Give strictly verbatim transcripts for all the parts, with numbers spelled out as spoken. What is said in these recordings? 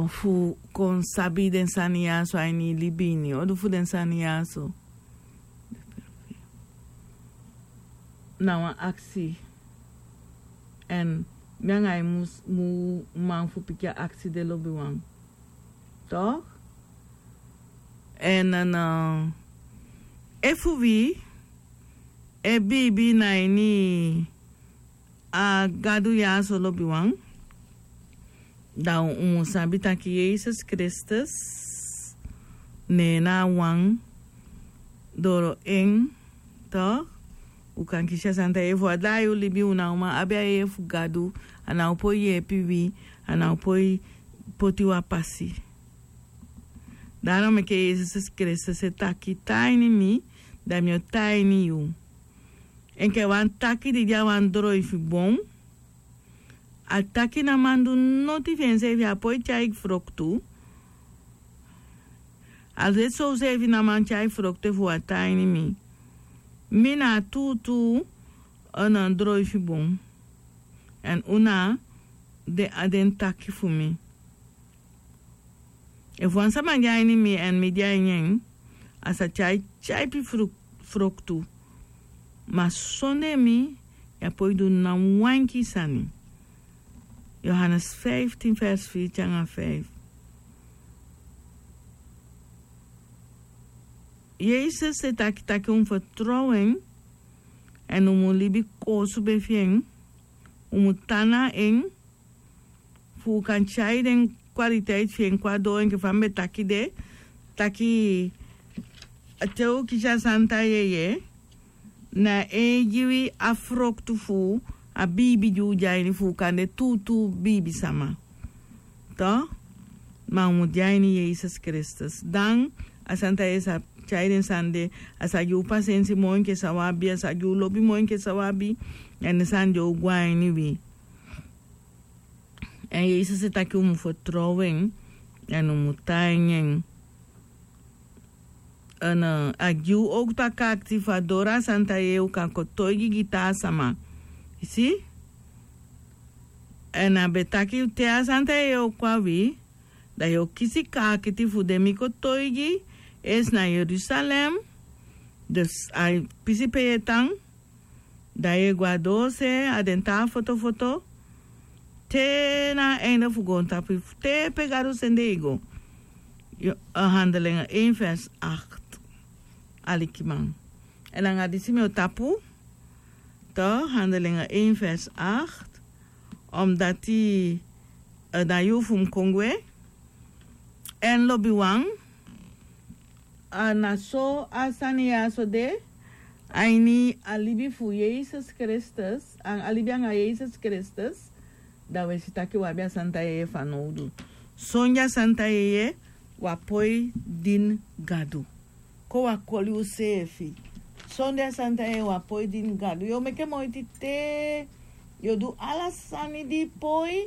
fu kon sabi den sani ya so a ini yu libi ini odu fu den sani ya so. Na wan aksi. Èn mi anga yu mus mu man fu piki a aksi de lobiwan. Tok'? Èn efu wi e biibi na ini a gadu ya so lobiwan, dan un mus sabi taki yesus kristus, ne en na a wan doro en. Tok'? Un kan kisi a santa yeye fu a dai un libi un na o man abi a yeye fu gadu. A na o poi yeepi wi. A na o poi poti wi a pasi. Daro meke yesus kristus e taki tan ini mi, dan mi o tan ini yu. Enke wan taki di de a wan droi fu bon. A taki na man du noti fu enseefi a poi tyai froktu. A de soseefi na man tyai froktu efu wan tan ini mi. Mi na a tuutuu. Droi fu bon. Èn un na den a den taki fu mi. Efu wan sama de a ini mi èn mi de a ini en, a sa tyai tyaipi froktu. Ma sondee mi, yu a poi du na wan enki sani. Yohanes fiftin vers fiftin anga fif. Yesus e taki taki un fertrow en. Èn un mu libi koosube fi en. Un mu tan na en fu un kan tyai den kwaliteit fi en kon a doo enke fa mi be taki de. Taki te un kisi a santa yeye, na en e gi wi a froktu fu a biibi di un de a ini fu un kan de tuutuu biibisama. Ma un mu de a ini yesus kristus dan a santa yeye sa tyai den sani de. A sa gi un pasensi moi enke san un abi a sa gi un lobi moi enke san un abi. Èn den sani de o go a ini wi. Èn yesus e taki un mu fertrow en. Èn un mu tan ini en. A gi un owktu a kaakiti fu a doro a santa yeye un kan kotoigi gi taa sama. Yu si? Èn a be taki te a santa yeye o kon a wi, dan yu o kisi kaakiti fu den mi kotoigi. Esi na yerusalem, dus a pisi pe yu e tan. Dan yu e go a doose a den taa fotofoto te na a einde fu goontapu yu fu te pe gadu sende yu go. Handelinge ein vers acht. Alikiman, èn anga disi mi o tapu. To handelinge ein vers acht. Omdati na yu fu mi kon gwe. Èn lobiwan, a na so a sani ya so de. A ini a libi fu yesus kristus, a libi anga yesus kristus. Dan wi e si taki wi abi a santa yeye fanowdu. Sonde a santa yeye wi a poi dini gadu. Kon wi a koli useefi. Sonde a santa yeye wi a poi dini gadu yu o meke moiti te yu o du ala sani di poi.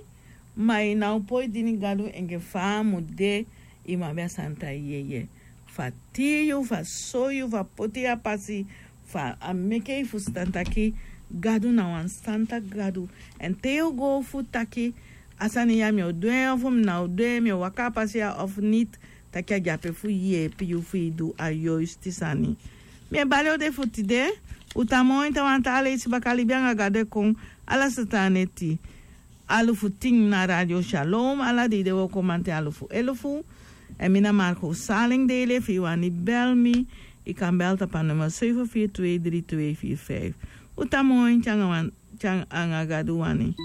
Ma yu na o poi dini gadu enke fa a mu de. Yu mu abi a santa yeye fu a tii yu fu a soi yu fu a poti yu a pasi fu a meke yu fusutan taki gadu na wan santa gadu. Èn te yu o go fu taki a sani ya mi o du en ofu mi na o du en mi o waka a pasi ya ofu niti. Taki a de ape fu yeepi yu fu yu du a yoisti sani. Mi e bali o de fu tide. Un tan moi te wan taa leisi baka libi anga gadu e kon ala sata a neti. Alufu tin na radio shalom ala dei de wooko manten alufu elufu. Èn mi na marko saling dei lefi yu wani bel mi. Yu kan bel tapu a nummer seven vier twee drie twee vier vijf. Un tan moi te anga gadu wani.